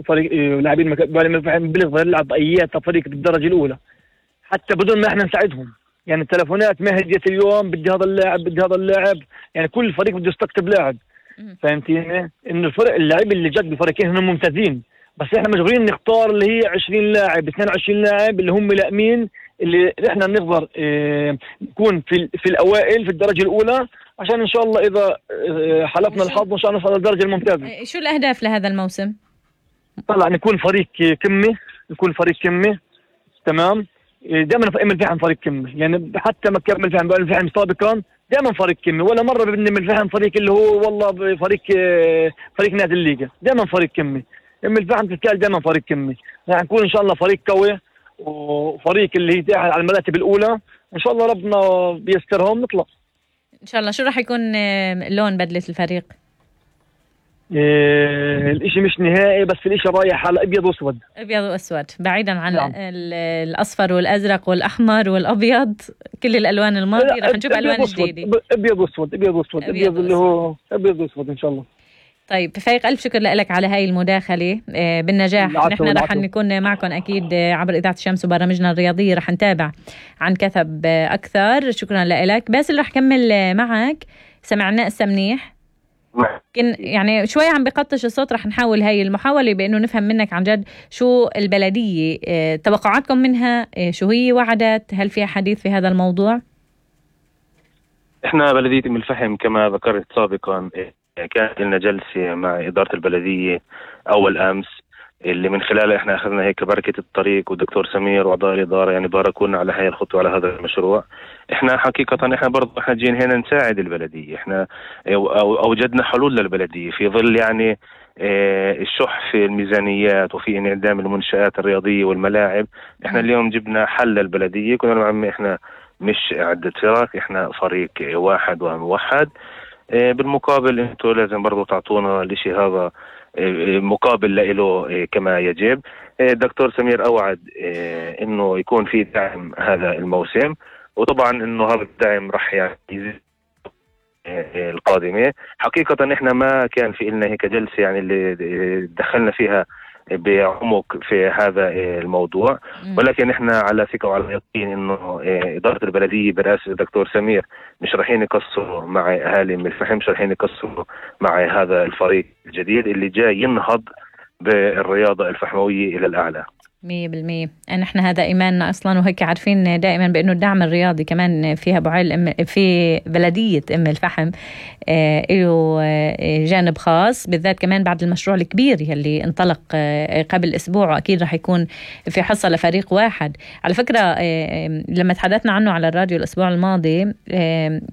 فريق لاعبين ام الفحم بيقدر يلعب اي فريق بالدرجه الاولى حتى بدون ما احنا نساعدهم. يعني التلفونات ما هديت اليوم بدي هذا اللاعب بدي هذا اللاعب، يعني كل فريق بده يستقطب لاعب. فهمتيني؟ انه الفرق اللاعب اللي جد بالفريقين هم ممتازين، بس احنا مجبورين نختار اللي هي 20 لاعب 22 لاعب اللي هم لائمين اللي احنا بنقدر نكون في الاوائل في الدرجه الاولى، عشان ان شاء الله اذا حالفنا الحظ ان شاء الله نوصل للدرجه الممتازه. شو الاهداف لهذا الموسم؟ طلع نكون فريق كمي تمام. دائما ام الفحم فريق كمي، يعني حتى ما كان ام الفحم سابقا دائما فريق كمي، ولا مره بنم الفحم فريق اللي هو والله فريق نادي الليغا، دائما فريق كمي. ام الفحم تتكال دائما فريق كمي، راح نكون ان شاء الله فريق قوي وفريق اللي يتأهل على المراتب الاولى ان شاء الله، ربنا بيسترهم نطلع ان شاء الله. شو راح يكون لون بدلة الفريق؟ الاشي مش نهائي، بس الاشي رايح على ابيض واسود. ابيض واسود، بعيدا عن الاصفر والازرق والاحمر والابيض، كل الالوان الماضيه راح نشوف الوان جديده. ابيض واسود اللي هو ابيض واسود ان شاء الله. طيب فايق، ألف شكر لك على هاي المداخلة بالنجاح. نحن رح نكون معكم أكيد عبر إذاعة الشمس وبرامجنا الرياضية، رح نتابع عن كثب أكثر. شكرا لك. باسل رح كمل معك، سمعنا هسه منيح؟ يعني شوي عم بقطش الصوت، رح نحاول هاي المحاولة بأنه نفهم منك عن جد شو البلدية، توقعاتكم منها شو هي، وعدت، هل فيها حديث في هذا الموضوع؟ احنا بلدية أم الفحم كما ذكرت سابقا كانت لنا جلسة مع إدارة البلدية أول أمس، اللي من خلالها إحنا أخذنا هيك بركة الطريق، والدكتور سمير وأعضاء الإدارة يعني باركونا على هاي الخطوة على هذا المشروع. إحنا حقيقة إحنا برضه إحنا جايين هنا نساعد البلدية، إحنا أوجدنا حلول للبلدية في ظل يعني الشح في الميزانيات وفي انعدام المنشآت الرياضية والملاعب. إحنا اليوم جبنا حل للبلدية، كنا نعم إحنا مش عدة فرق، إحنا فريق واحد وموحد. بالمقابل انتوا لازم برضو تعطونا الاشي هذا مقابل له كما يجب. دكتور سمير اوعد انه يكون في دعم هذا الموسم، وطبعا انه هذا الدعم رح يعني يزيد القادمة. حقيقة احنا ما كان في لنا هيك جلسة يعني اللي دخلنا فيها بعمق في هذا الموضوع، ولكن احنا على ثقة وعلى يقين انه إدارة البلدية برئاسة الدكتور سمير مش رايحين يقصروا مع اهالي ام الفحم، مش رايحين يقصروا مع هذا الفريق الجديد اللي جاي ينهض بالرياضة الفحموية الى الاعلى 100%. نحن هذا إيماننا أصلا، وهيك عارفين دائما بأنه الدعم الرياضي كمان فيها بعيل في بلدية أم الفحم له جانب خاص، بالذات كمان بعد المشروع الكبير يلي انطلق قبل أسبوع، وأكيد رح يكون في حصة لفريق واحد. على فكرة لما تحدثنا عنه على الراديو الأسبوع الماضي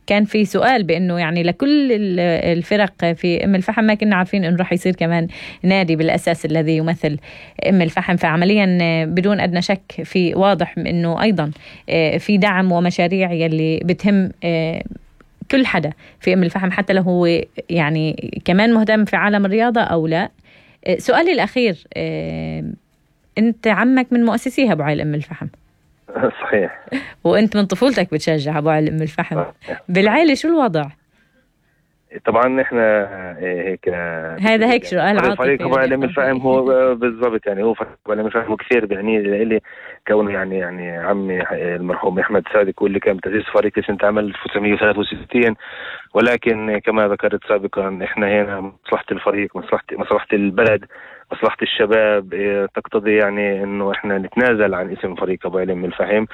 كان في سؤال بأنه يعني لكل الفرق في أم الفحم ما كنا عارفين أنه رح يصير كمان نادي بالأساس الذي يمثل أم الفحم. فعمليا بدون أدنى شك في واضح أنه أيضا في دعم ومشاريع يلي بتهم كل حدا في أم الفحم، حتى لو هو يعني كمان مهتم في عالم الرياضة أو لا. سؤالي الأخير، أنت عمك من مؤسسيها أبو عيل أم الفحم؟ صحيح. وأنت من طفولتك بتشجع أبو عيل أم الفحم. بالعائلة شو الوضع؟ طبعا احنا هيك هذا هيك سؤال عاطفي. فريق أبو عيل أم الفحم هو بالضبط يعني هو فريق أبو عيل أم الفحم كثير بعني لي كونه يعني عمي المرحوم أحمد صادق واللي كان تأسيس فريق سنة عام 1963. ولكن كما ذكرت سابقا احنا هنا مصلحة الفريق، مصلحة البلد، مصلحة الشباب تقتضي يعني انه احنا نتنازل عن اسم فريق ابو عيل أم الفحم.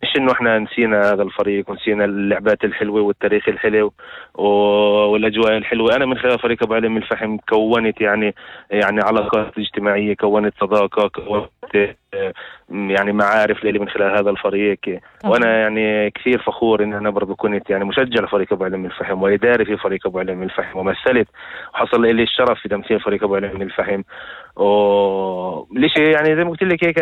مش انه احنا نسينا هذا الفريق ونسينا اللعبات الحلوة والتاريخ الحلو والاجواء الحلوة. انا من خلال فريق ابو عيل أم الفحم كونت يعني علاقات اجتماعية، كونت صداقة، كونت يعني معارف لي من خلال هذا الفريق. وانا يعني كثير فخور ان انا برضو كنت يعني مشجع لفريق ابو عيل أم الفحم واداري في فريق ابو عيل أم الفحم، ومثلت وحصل لي الشرف في تمثيل فريق ابو عيل أم الفحم. ليش يعني زي ما قلت لك هيك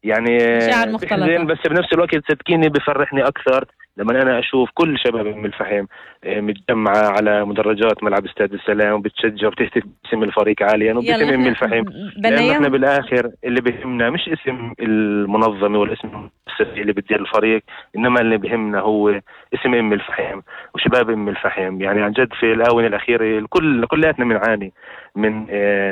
يعني مشاعر مختلطة، بس بنفس الوقت صدقيني بفرحني اكثر لما انا اشوف كل شباب أم الفحم متجمعه على مدرجات ملعب استاد السلام وبتشجع وبتهتف باسم الفريق عاليا وباسم أم الفحم، لأن احنا بالاخر اللي بيهمنا مش اسم المنظمه والاسم اللي بتدير الفريق، انما اللي بيهمنا هو اسم أم الفحم وشباب أم الفحم. يعني عن جد في الاونه الاخيره كلياتنا بنعاني من